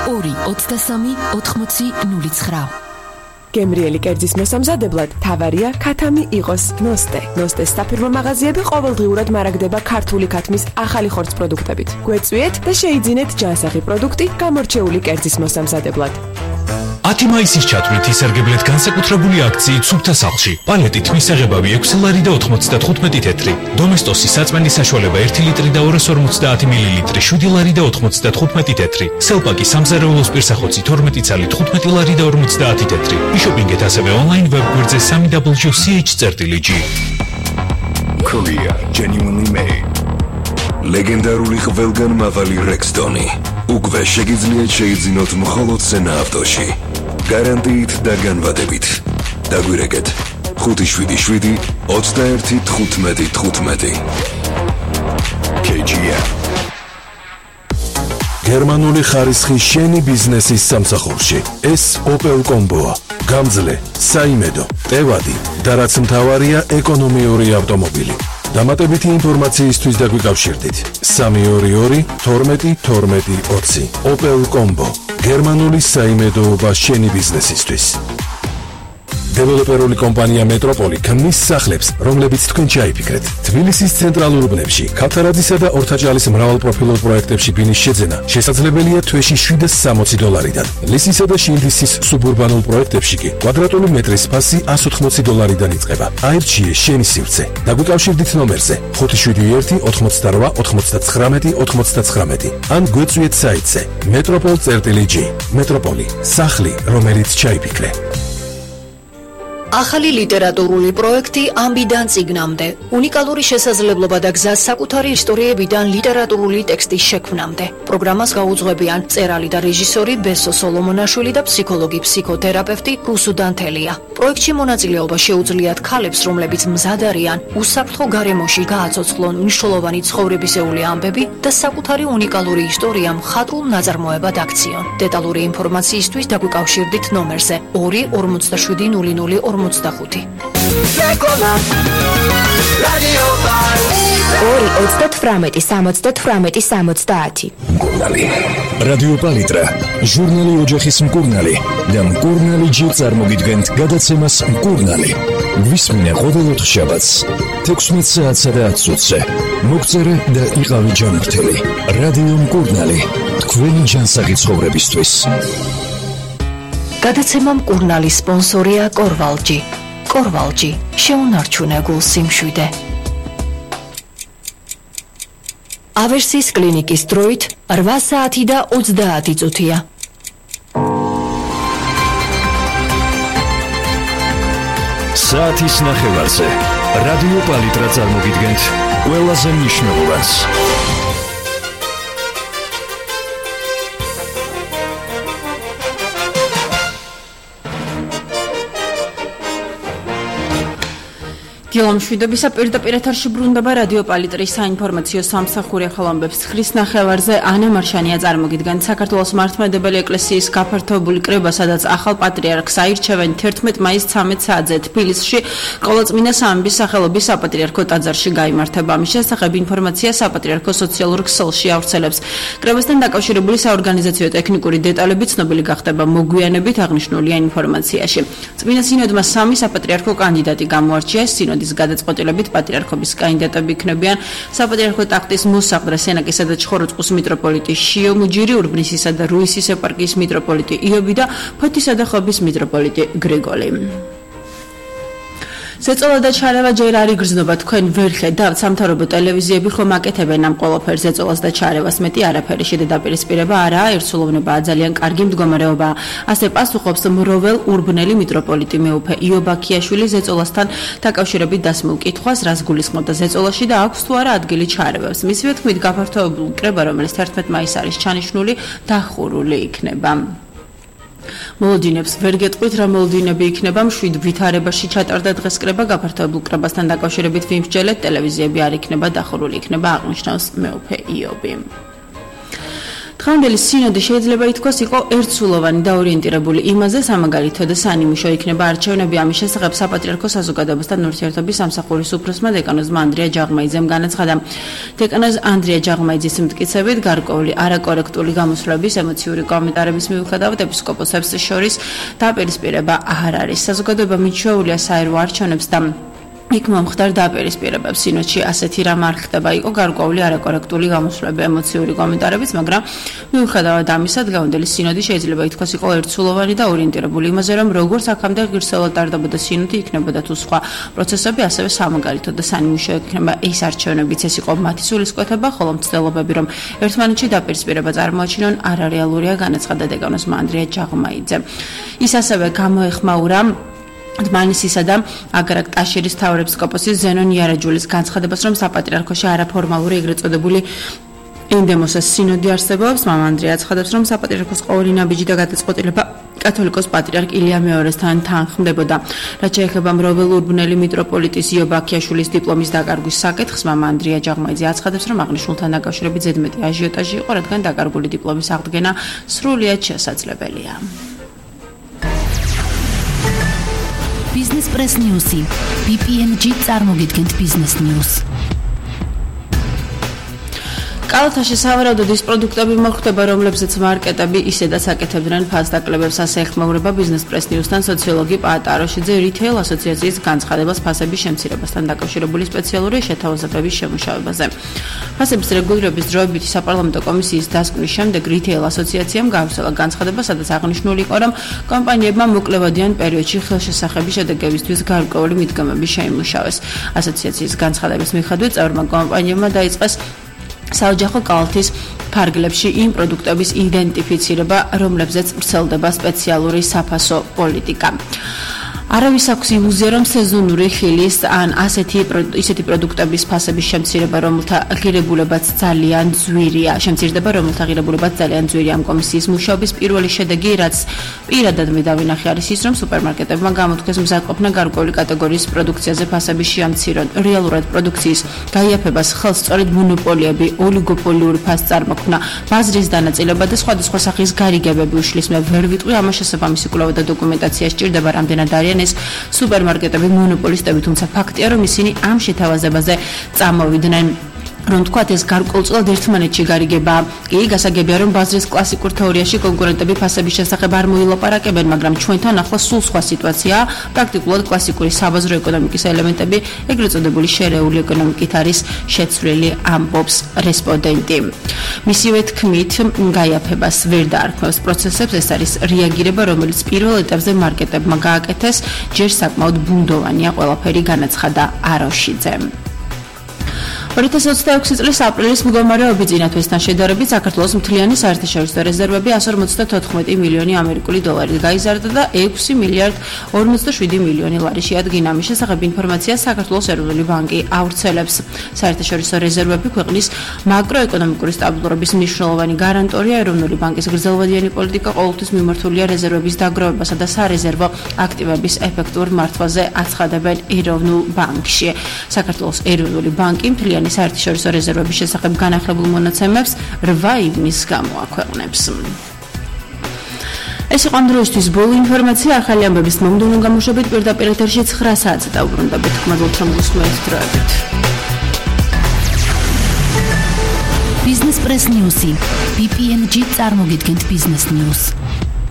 223-80-09. გემრიელი კერძის მოსამზადებლად თავარია ქათამი იყოს ნოსტე. ნოსტეს საფირმო მაღაზიები ყოველდღიურად მარაგდება ქართული ქათმის ახალი ხორცს პროდუქტებით. გვეწვიეთ და შეიძინეთ ჯანსაღი პროდუქტი გამორჩეული კერძის მოსამზადებლად. 10 მაისის ჩათვლით ისარგებლეთ განსაკუთრებული აქციით სუფთა სახლში. პალეტით მისაღებავი 6 ლარი და 95 თეთრი. დომესტოსი საწმენდის საშუალება 1 ლიტრი და 250 მილილიტრი 7 ლარი და 95 თეთრი. სელპაკი სამზარეულოს პირსახოცი 12 ცალი 15 ლარი და 50 თეთრი. იშოპინგეთ ასევე ონლაინ ვებგვერდზე www.ch.gr. Korea genuinely made. ლეგენდარული ყველგან მავალი Rexton-ი. უკვე შეგიძლიათ შეიძინოთ მხოლოდ სენა ავტოში. გარანტიით და განვადებით. დაგვირეკეთ 577-21-15-15. KGM. გერმანული ხარისხი შენი ბიზნესის სამსახურში. ეს Opel Combo-ა. გამძლე, საიმედო, ტევადი და რაც მთავარია ეკონომიური ავტომობილი. დამატებითი ინფორმაციისთვის დაგვიკავშირდით 322-12-12-20. Opel Combo. გერმანული საიმედოობა შენი ბიზნესისთვის. დეველოპერული კომპანია მეტროპოლი ქმნის სახლებს, რომლებიც თქვენ ჩაიფიქრეთ. თბილისის ცენტრალურ უბნებში, ქავთარაძისა და ორთაჭალის მრავალპროფილურ პროექტებში ბინის შეძენა შესაძლებელია თვეში $760-დან. ლისისა და შილდისის სუბურბანულ პროექტებში კი კვადრატული მეტრის ფასი $180-დან იწყება. აირჩიე შენი სივრცე. დაგვიკავშირდით ნომერზე 571-99-99. ან გვეწვიეთ საიტზე metropol.g. მეტროპოლი, სახლი, რომელიც ჩაიფიქრე. ახალი ლიტერატურული პროექტი ამბიდან წიგნამდე. უნიკალური შესაძლებლობა და გზა საკუთარი ისტორიებიდან ლიტერატურული ტექსტის შექმნამდე. პროგრამას გაუძღვებიან მწერალი და რეჟისორი ბესო სოლომონაშვილი და ფსიქოლოგი ფსიქოთერაპევტი რუსუ დანთელია. პროექტში მონაწილეობა შეუძლიათ ქალებს, რომლებიც მზად არიან უსაფრთხო გარემოში გააცოცხლონ მნიშვნელოვანი ცხოვრებისეული ამბები და საკუთარი უნიკალური ისტორია მხატვრულ ნაწარმოებად აქციონ. დეტალური ინფორმაციისთვის დაგვიკავშირდით ნომერზე 2-47-00-45. 2-38-70-70. რადიო პალიტრა, ჟურნალი ოჯახის მკურნალი და მკურნალი ჯერ წარმოგიდგენთ გადაცემას მკურნალი. გვისმინე ყოველ ოთხშაბათს 16 საათსა და 10 წუთზე. მოგწერე და იყავი ჯანმრთელი. რადიო მკურნალი, თქვენი ჯანსაღი ცხოვრებისთვის. გადაცემა მკურნალის სპონსორია კორვალჯი. კორვალჯი, შეუნარჩუნე გულ სიმშვიდე. ავერსის კლინიკის დროით 8 საათი და 30 წუთია. საათის ნახევარზე რადიო პალიტრა წარმოგიდგენთ ყველაზე მნიშვნელოვანს. გილომშვიდობისა პირდაპირ ეთერში ბრუნდება რადიო პალიტრის საინფორმაციო სამსახური ახალამბებს ხრის ნახევარზე ანა მარშანია წარმოგიდგენთ. საქართველოს მართლმადიდებელი ეკლესიის გაფართოებული კრება, სადაც ახალ პატრიარქს აირჩევენ 11 მაისს 13 საათზე თბილისში ყოლაწმინდა სამების სახელობის საპატრიარქო ტაძარში გაიმართება. ამის შესახებ ინფორმაცია საპატრიარქო სოციალურ ქსელში ავრცელებს. კრებასთან დაკავშირებული საორგანიზაციო ტექნიკური დეტალები ცნობილი გახდება მოგვიანებით აღნიშნულია ინფორმაციაში. წმინდა სინოდმა 3 საპატრიარქო კანდიდატი გამოარჩიეს. სინოდის გადაწყვეტილებით პატრიარქობის კანდიდატები იქნებიან საპატრიარქო ტახტის მოსაყდრე სენაკისა და ჩხოროწყუს მიტროპოლიტი შიო მუჯირი, ურბნისისა და რუისის ეპარქიის მიტროპოლიტი იობი და ფოთისა და ხობის მიტროპოლიტი გრიგოლი. ზეწოლა და ჩარევა ჯერ არ იგრძნობა, თქვენ ვერ ხედავთ? სამთავრობო ტელევიზიები ხომ აკეთებენ ამ ყველაფერს, ზეწოლას და ჩარევას, მეტი არაფერი შედაპირისპირება არაა, ერთსულოვნებაა, ძალიან კარგი მდგომარეობაა. ასე პასუხობს მროվել ურბნელი მიტროპოლიტი მეუფე იობ აქიაშვილი ზეწოლასთან დაკავშირებით დასმულ კითხვას, რას გულისხმობდა ზეწოლაში და აქვს თუ არა ადგილი ჩარევებს. მისივე თქმით, გაფართოებული კრება, რომელიც 11 მაისს არის ჩანიშნული, დახურული იქნება. მოლოდინებს ვერ გეტყვით რა მოლოდინები იქნება, მშვიდ ვითარებაში ჩატარდა დღეს კრება, გაფართოებულ კრებასთან დაკავშირებით ვიმსჯელეთ, ტელევიზიები არ იქნება დახურული იქნება, აღნიშნავს მეუფე იობი. დღევანდელი სინოდი შეიძლება ითქვას იყო ერთსულოვანი და ორიენტირებული იმაზე, სამაგალითო და სანიმუშო იქნება არჩევნები ამის შესახებ საპატრიარქო საზოგადოებასთან ურთიერთობის სამსახურის უფროსმა დეკანოზმა ანდრია ჯაღმაიძემ განაცხადა. დეკანოზ ანდრია ჯაღმაიძის მტკიცებით გარკვეული არაკორექტული გამოსვლების ემოციური კომენტარების მიუხედავად ეპისკოპოსებს შორის დაპირისპირება არ არის. საზოგადოება მიჩვეულია საერვო არჩევნებს და იქ მომხდარ დაპირისპირებებს. სინოდში ასეთი რამ არ ხდება, იყო გარკვეული არაკორექტული გამოსვლები, ემოციური კომენტარებიც, მაგრამ მიუხედავად ამისა, დღევანდელი სინოდი შეიძლება ითქვას იყო ერთსულოვანი და ორიენტირებული იმაზე, რომ როგორც აქამდე ღირსეულად ტარდებოდა სინოდი, იქნებოდა თუ სხვა პროცესები, ასევე სამაგალითო და სანიმუშო იქნება ეს არჩევნებიც, ეს იყო მათი სულისკვეთება, ხოლო მცდელობები, რომ ერთმანეთში დაპირისპირება წარმოაჩინონ, არარეალურია, განაცხადა დეკანოზმა ანდრია ჯაღმაიძემ. ის ასევე გამოეხმაურა დმანისისა და აგრაკ-ტაშირის მთავარეპისკოპოსის ზენონ იარაჯულის განცხადებას, რომ საპატრიარქოში არაფორმალური ეგრეთ წოდებული ენდემოსას სინოდი არსებობს. მამა ანდრია აცხადებს, რომ საპატრიარქოს ყოველი ნაბიჯი და გადაწყვეტილება კათოლიკოს პატრიარქ ილია მეორესთან თანხმდებოდა. რაც შეეხება მროველურ ბნელი მიტროპოლიტის იო ბაქიაშვილის დიპლომის დაკარგვის საკითხს, მამა ანდრია ჯაღმაიძე აცხადებს, რომ აღნიშნულთან დაკავშირებით ზედმეტი აჟიოტაჟი იყო, რადგან დაკარგული დიპლომის აღდგენა სრულიად შესაძლებელია. Business Press News-ი. BPNG წარმოგიდგენთ Business News. კალათაში სავარაუდოდ ის პროდუქტები მოხვდება, რომლებზეც მარკეტები ისედაც აკეთებდნენ ფასდაკლებებს, ასე ეხმაურება Business Press News-თან სოციოლოგი პაატ აროშიძე რითეილ ასოციაციის განცხადებას ფასების შემცირებასთან დაკავშირებული სპეციალური შეთავაზებების შემუშავებაზე. ფასების რეგულირების დროებითი საპარლამენტო კომისიის დასკვნის შემდეგ რითეილ ასოციაციამ გაავრცელა განცხადება, სადაც აღნიშნული იყო, რომ კომპანიებმა მოკლევადიან პერიოდში ხელშესახების შედეგებისთვის გარკვეული მიდგომები შეიმუშავეს. ასოციაციის განცხადების მიხედვით წევრმა კომპანიებმა დაიწყეს საოჯახო კალათის ფარგლებში იმ პროდუქტების იდენტიფიცირება, რომლებზეც ვრცელდება სპეციალური საფასო პოლიტიკა. არავის აქვს ილუზია, რომ სეზონური ხილის ან ისეთი პროდუქტების ფასების შემცირდება, რომელთა ღირებულებაც ძალიან ძვირია. შემცირდება, რომელთა ღირებულებაც ძალიან ძვირია. ამ კომისიის მუშაობის პირველი შედეგი, რაც პირადად მე დავინახე, არის ის, რომ სუპერმარკეტებმა გამოთქვეს მზადყოფნა გარკვეული კატეგორიის პროდუქციაზე ფასების შეამცირონ. რეალურად პროდუქციის გაიაფებას ხელს სწორედ მონოპოლიები, ოლიგოპოლიური ფასწარმოქმნა, ბაზრის დანაწილება და სხვადასხვა სახის გარიგებები უშლის. მე ვერ ვიტყვი ამას შესაბამისი კვლევა და დოკუმენტაცია სჭირდება, რამდენად არიან ეს სუპერმარკეტები მონოპოლისტები, თუმცა ფაქტია, რომ ისინი ამ შეთავაზებაზე წამოვიდნენ. რომ თქვათ ეს გარკვეულწილად ერთმანეთში გარიგება. კი, გასაგებია, რომ ბაზრის კლასიკურ თეორიაში კონკურენტები ფასების შესახებ არ მოილაპარაკებენ, მაგრამ ჩვენთან ახლა სულ სხვა სიტუაციაა. პრაქტიკულად კლასიკური საბაზრო ეკონომიკის ელემენტები, ეგრეთ წოდებული შერეული ეკონომიკით არის შეცვლილი, ამბობს რესპონდენტი. მისივე თქმით, გაიაფებას ვერ დაარქმევს პროცესებს, ეს არის რეაგირება, რომელიც პირველ ეტაპზე მარკეტებმა გააკეთეს, ჯერ საკმაოდ ბუნდოვანია ყველაფერი, განაცხადა აროშიძემ. 2026 წლის აპრილის მდგომარეობის წინათვისთან შედარებით საქართველოს მთლიანი საერთაშორისო რეზერვები 154 მილიონი ამერიკული დოლარით გაიზარდა და 6 მილიარდ 47 მილიონი ლარი შეადგინა. ამის შესახებ ინფორმაციას საქართველოს ეროვნული ბანკი ავრცელებს. საერთაშორისო რეზერვები ქვეყნის მაკროეკონომიკური სტაბილურობის მნიშვნელოვანი გარანტორია. ეროვნული ბანკის გრძელვადიანი პოლიტიკა ყოველთვის მიმართულია რეზერვების დაგროვებასა და სარეზერვო აქტივების ეფექტურ მართვაზე, აცხადებენ ეროვნულ ბანკში. საქართველოს ეროვნული ბანკი მთლიანი საერთაშორისო რეზერვების შესახებ განახლებულ მონაცემებს 8 ივნისს გამოაქვეყნებს. ეს იყო ამ დროისთვის ბოლო ინფორმაცია. ახალი ამბების მომდევნო გამოშვებით პირდაპირ ეთერში 9 საათზე დავუბრუნდებით. გმადლობთ, რომ გусმენთ დროებით. Business Press News-ი. BPNG წარმოგიდგენთ Business News.